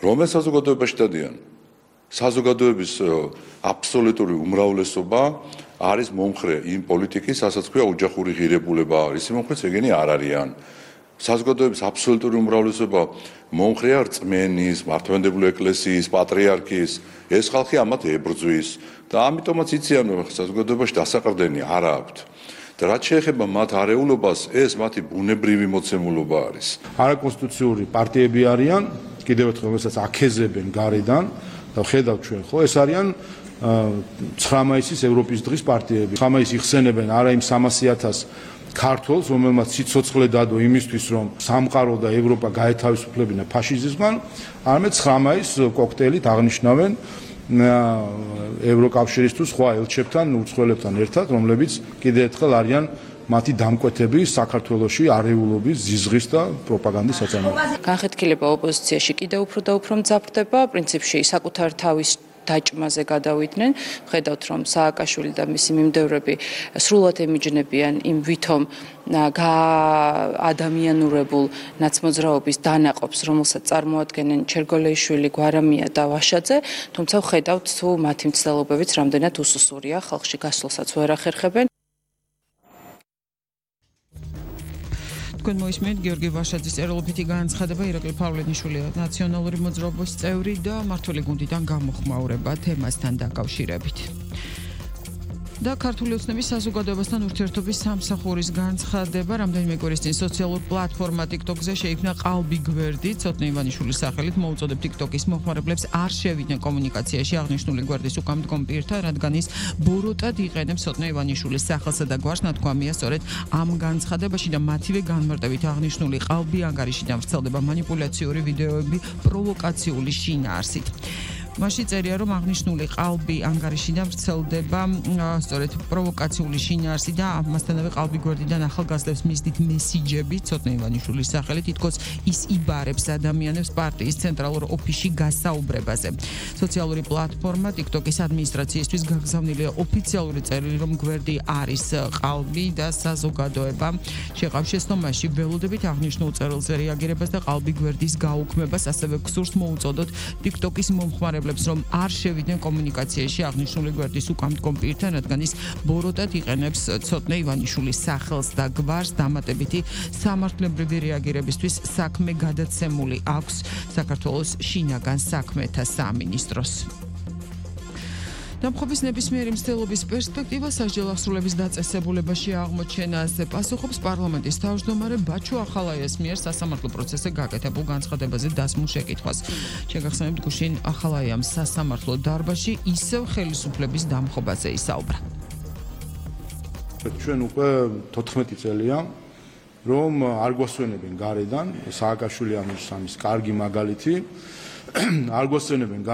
რომელ საზოგადოებაში დადიან? საზოგადოების აბსოლუტური უმრავლესობა არის მომხრე იმ პოლიტიკის, რასაც ქვია ოჯახური ღირებულება არის. იმ მომხრეც ეგენი არ არიან. საზოგადოების აბსოლუტური უმრავლესობა მომხრეა რწმენის, მართლმადიდებლური ეკლესიის, პატრიარქის. ეს ხალხი ამათ ებრძვის და ამიტომაც იციან, რომ საზოგადოებაში დასაყრდენი არ აქვთ. და რაც შეეხება მათ არეულობას, ეს მათი ბუნებრივი მოცემულობა არის. არაკონსტიტუციური პარტიები არიან, კიდევ ერთხელ რომელსაც აქეზებენ გარედან და ხედავთ ჩვენ, ხო, ეს არიან 9 მაისის ევროპის დღის პარტიები. 9 მაისს იხსენებენ არა იმ 300,000 ქართველს, რომელმაც სიცოცხლე დადო იმისთვის, რომ სამყარო და ევროპა გაეთავისუფლებინა ფაშიზმისგან, არამედ 9 მაისს კოქტეილით აღნიშნავენ ევროკავშირის თუ სხვა ელჩებთან, უცხოელებთან ერთად, რომლებიც კიდევ ერთხელ არიან მათი დამკვეთები საქართველოში არეულობის, ზიზღის და პროპაგანდის საწარმოებში. განხეთქილება ოპოზიციაში კიდევ უფრო და უფრო მძაფრდება, პრინციპში საკუთარ თავის დაჭმაზე გადავიდნენ. ხედავთ, რომ სააკაშვილი და მისი მიმდევრები სრულად ემიჯნებიან იმ ვითომ ადამიანურებულ ნაცმოძრაობის დანაყოფს, რომელსაც წარმოადგენენ ჩერგოლეიშვილი, გვარამია და ვაშაძე, თუმცა ხედავთ, თუ მათი მცდელობებიც რამდენად უსუსურია, ხალხში გასვლასაც ვერ ახერხებენ. თქვენ მოისმენთ გიორგი ვაშაძის წერილობითი განცხადება, ირაკლი ფავლენიშვილი ნაციონალური მოძრაობის წევრი და მმართველი გუნდიდან გამოხმაურება თემასთან დაკავშირებით. და ქართული ოცნების საზოგადოებასთან ურთიერთობის სამსახურის განცხადება, რამდენიმე კვირის წინ სოციალურ პლატფორმა TikTok-ზე შეიქმნა ყალბი გვერდი, ცოტნე ივანიშვილის სახელით მოუწოდებ TikTok-ის მომხმარებლებს არ შევიდნენ კომუნიკაციაში აღნიშნული გვერდის უკანდგომ პირთა, რადგან ის ბოროტად იყენებს ცოტნე ივანიშვილის სახელსა და გვარს. ნათქვამია, სწორედ ამ განცხადებაში და მათივე განმარტებით აღნიშნული ყალბი ანგარიშიდან ვრცელდება манипуляციური ვიდეოები პროვოკაციული შინაარსით. მასში წერია, რომ აღნიშნული ყალბი ანგარიშიდან ვრცელდება სწორედ პროვოკაციული შინაარსი და ამასთანავე ყალბი გვერდიდან ახალგაზრდებს მისდით მესიჯები ცოტნე ივანიშვილის სახელით, თითქოს ის იბარებს ადამიანებს პარტიის ცენტრალურ ოფისში გასაუბრებაზე. სოციალური პლატფორმა TikTok-ის ადმინისტრაციისთვის გაგზავნილია ოფიციალური წერილი, რომ გვერდი არის ყალბი და საზოგადოება შეყავს შეცდომაში. ველოდებით აღნიშნულ წერილზე რეაგირებას და ყალბი გვერდის გაუქმებას, ასევე გსურს მოუწოდოთ TikTok-ის მომხმარებლებს, რომ არ შევიდნენ კომუნიკაციაში აღნიშნული გვერდის უკანდგომ პირთან, რადგან ის ბოროტად იყენებს ცოტნე ივანიშვილის სახელს და გვარს. დამატებითი სამართლებრივი რეაგირებისთვის საქმე გადაცემული აქვს საქართველოს შინაგან საქმეთა სამინისტროს. დამხობის ნებისმიერი მცდელობის პერსპექტივა სასჯელ აღსრულების დაწესებულებაში აღმოჩენაზე პასუხობს პარლამენტის თავმჯდომარე ბაჩო ახალაიას მიერ სასამართლო პროცესზე გაკეთებულ განცხადებაზე დასმულ შეკითხვას. შეგახსენებთ, გუშინ ახალაიამ სასამართლო დარბაზში ისევ ხელისუფლების დამხობაზე ისაუბრა. ჩვენ უკვე 14 წელია, რომ არ გვასვენებენ გარედან, სააკაშვილი ამის კარგი მაგალითი, არ გვასვენებენ